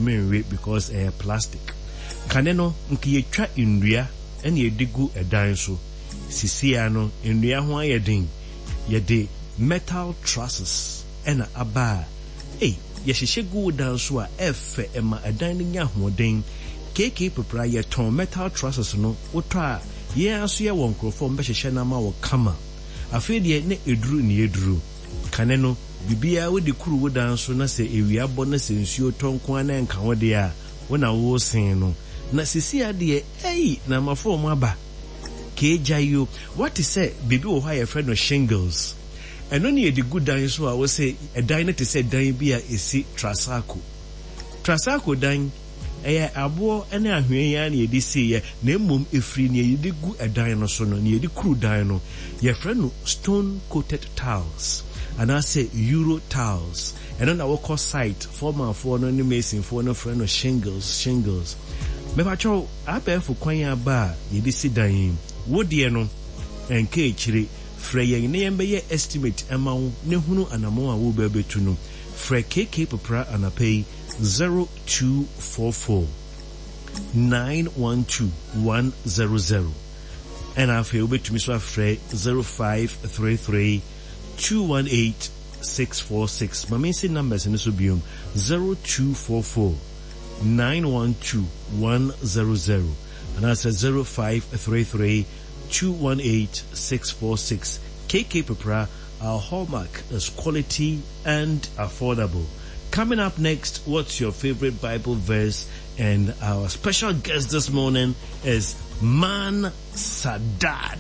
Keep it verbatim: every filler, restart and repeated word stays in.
Wontumi nwe because ɛyɛ plastic. Kane no, nka yɛtwa nnua ɛna yɛde gu ɛdan so. Sisia no, nnua ho ayɛ den. Yɛde metal trusses ɛna aba a, ei, yɛhyehyɛ gu wo dan so a ɛfɛ ɛma ɛdan no nya ahoɔden. K K Pepra yɛtɔn metal trusses no, wotɔ a yɛn nso yɛwɔ nkurɔfoɔ mbɛhyehyɛ no ama wo kama. Afei deɛ ne eduru ne eduru. Kane no, biribiara wode kuru wo dan so na sɛ ewia bɔ na sɛ nsuo tɔ nko ara na nka wo deɛ a, wo na wosen no. Na sisi adeɛ, ei, na amafoɔ ɔmo aba. Keegya yi o, wate sɛ biribi wɔ hɔ a yɛfrɛ no shingles. Ɛno ne yɛde gu dan so a wɔsɛ ɛdan no te sɛ dan bi a ɛsi Trasaco. Trasaco dan ɛyɛ aboɔ ne ahwea yi ara na yɛde siiɛ, na mmom ɛfiri nea yɛde gu ɛdan no so no, nea yɛde kuru dan no, yɛfrɛ no stone coated tiles anaasɛ Euro tiles. Ɛno na wɔkɔ site foremanfoɔ no ne masonfoɔ no frɛ no shingles shingles. Mɛpakyɛw abɛɛfo kwan aba a yɛde si dan yi, wo deɛ no ɛnka akyire. Frɛ yɛn na yɛn estimate ɛma wo ne hunu anammɔn a wobɛbɛtu no. Frɛ K K Pepra anapa yi, zero two four four nine one two one zero zero, ɛna afei wobɛtumi so afrɛ zero five three three two one eight six four six. Ma mensi numbers no so biom: zero two four four nine one two one zero zero anaasɛ zero five three three two one eight six four six. K K Pepra, our hallmark is quality and affordable. Coming up next, what's your favorite Bible verse? And our special guest this morning is Man Sadat.